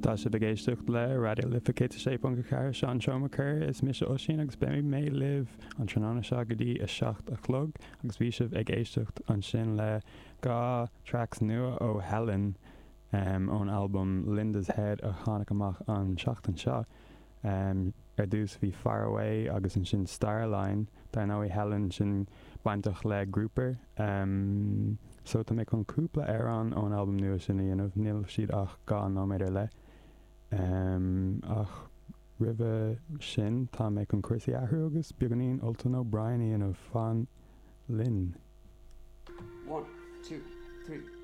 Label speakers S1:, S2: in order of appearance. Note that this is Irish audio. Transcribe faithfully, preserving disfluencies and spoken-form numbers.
S1: Tá sibh ag éisteacht le Raidió Life céad a sé ponc a ceathair Seán Seomacur is mise Oisín agus beidh mé libh an tráthnóna seo go dtí a seacht a chlog agus bhí sibh ag éisteacht ansin le dhá tracks nua ó Helen um, ón album Linda's Head a tháinig amach an seachtain seo. Um, ar dtús bhí Far Away agus ansin Starline dar ndóigh Helen sin bainteach le Grouper. Um, so tá mé chun cúpla amhrán ón album nua sin a dhéanamh, níl siad ach dhá nóiméad ar leith. Um, ach roimhe sin tá mé chun cúrsaí a athrú agus beagáinín Ultan O'Brien a dhéanamh fan linn.
S2: One, two, three.